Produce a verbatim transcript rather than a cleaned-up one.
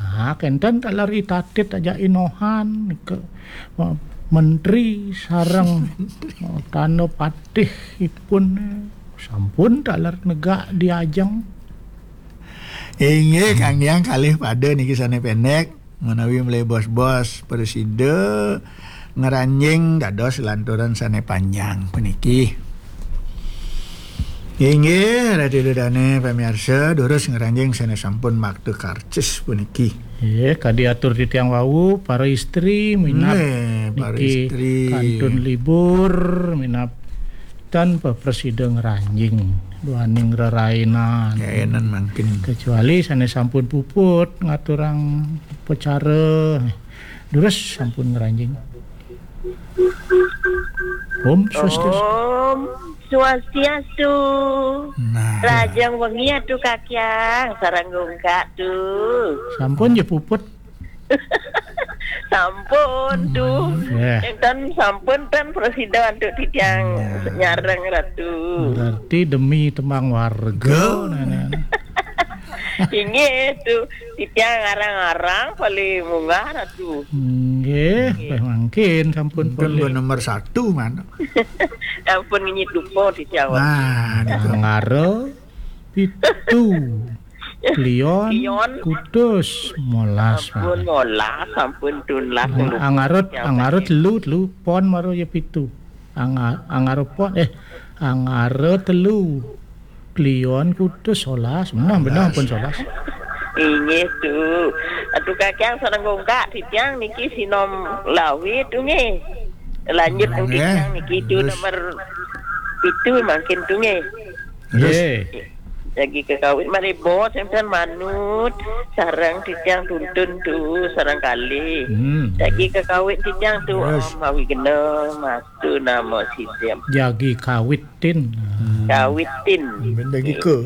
Nah, kenten taler I Tatit ajak I Nohan ke menteri sareng tanda patih ipun sampun taler negak di ajeng. Inggih, Kang Hyang, kalih pada niki sane pendek menawi mlebos-bos presida ngranjing dados lanturan sane panjang puniki. Inggih, Ratu Ida Dane pamiarsa, durus ngranjing sane sampun makta karcis puniki. Nggih, kadi atur titiang wau, para istri minab Nggih, para niki istri. Kantun libur, minab tanpa presida ngranjing duaning rerainan. Rerainan mangkin. Kecuali sane sampun puput ngaturang upacara, durus sampun ngranjing. Om Swastiastu. Om Swastiastu. Nah. Rahajeng wengi Atu Kakyang, sareng Gungkak Tu. Sampun ja puput. Sampun Tu. Nggih. Enten sampun ten presida antuk titiang nyareng Ratu. Berarti demi tembang warga. Nana. Inggih Tu, titiang ngarang-arang paling munggah Ratu. Nggih, mangkin sampun. Pun nomor satu mana? Ampun ngenyit dupa titiang. Nah, Angara pitu. Kliwon, Kliwon. Kutus, molas. Sampun molas, sampun tunlas. Ang-, Angara, Angara telu, telu, pon mara ya pitu. Anga-, Angara pon, eh, Angara telu. Kliwon, Kutus, solas. Menah, menah pun solas. Inggih Tu. Atu Kakyang sareng Gungkak, titiang niki sinom lawit Tu nggih. Lanjut nggih. Titiang niki Tu nomor pitu mangkin Tu nggih. Terus? Nggih. Jagi kekawit malebos, enten manut, sareng titiang tuntun Tu, sareng kalih. Hmm. Jagi kekawit titiang Tu, terus? Om Awigna, mastu namo sidam. Jagi kawitin. Hmm. Kawitin. Benda giko.